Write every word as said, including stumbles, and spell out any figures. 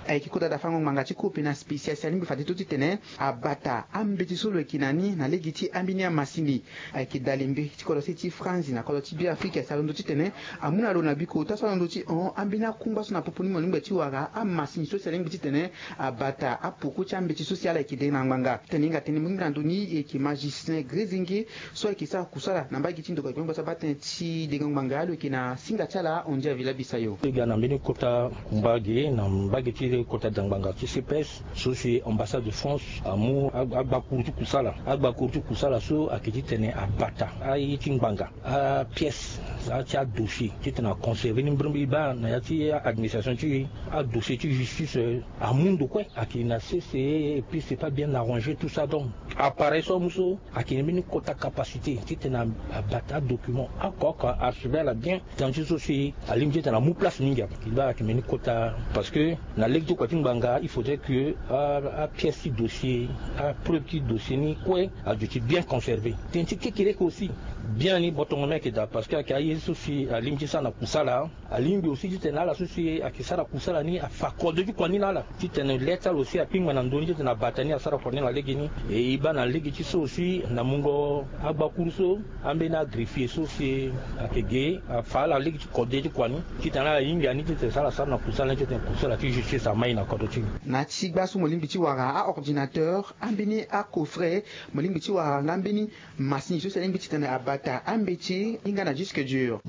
Ayeke kota dafango ngbanga ti kope na spécial si alingbi fade to titene abata ambeti so lo yeke na ni na lege ti ambeni amasini. Ayeke dalembe ti kodro se ti France na kodro ti Beafrika si alondo titene amu na lo na biko ota so alondo ti hon ambeni akungba so na popo ni mo lingbi ti wara amasini so si alingbi titene abata apoko ti ambeti so si ala yeke de na ngbanga. Tene hinga tene mo lingbi na ndo ni e yeke magicien grezenge so ayeke sara kusala na mbage ti ndoko ya gbengba so abaa tënë ti dengo ngbanga alo yeke na singa ti ala Ondia Villa Bisayo. E ga na mbeni kota mbage na mbage ti kota dangbanga ti C P S so si ambassade de France amu agbakuru ti kusala agbakuru ti kusala so ayeke titene abata aye ti ngbanga apièce ti adossier titene aconserve ni mbirimbiri baa na ya ti administration ti adossier ti justice amu ndo kue ayeke na sese et puis c'est pas bien arrangé tout ça donc appareil so amu so ayeke na mbeni kota capacité titene abata adocument oko oko archibel bien. Tënë ti so si alingbi titene amu place mingi ape. Kili baa ayeke mbeni kota parce que na lege ti kua ti ngbanga il faudrait que apièce ti dossier apreuve ti dossier ni kue aduti bien conservé. Tënë ti kekereke aussi bien ni botongo ni ayeke daa parce que ayeke aye so si alingbi ti sara na kusala. Alingbi aussi titene ala so si ayeke sara kusala ni afa kode ti kua ni na ala titene le ti ala aussi akpingba na ndö ni titene abata ni asara kua ni na lege ni. E e baa na lege ti so aussi na mungo agbakuru so ambeni agreffier so si ayeke ge afa ala lege ti kode ti kua ni titene ala hinga ni titene so ala sara na kusala ni titene kusala ti justice amai na kodro ti ni. Na ti gba so mo lingbi ti wara aordinateur ambeni acoffret mo lingbi ti wara nga mbeni masini so si alingbi titene abata ambeti hinga na disque dur.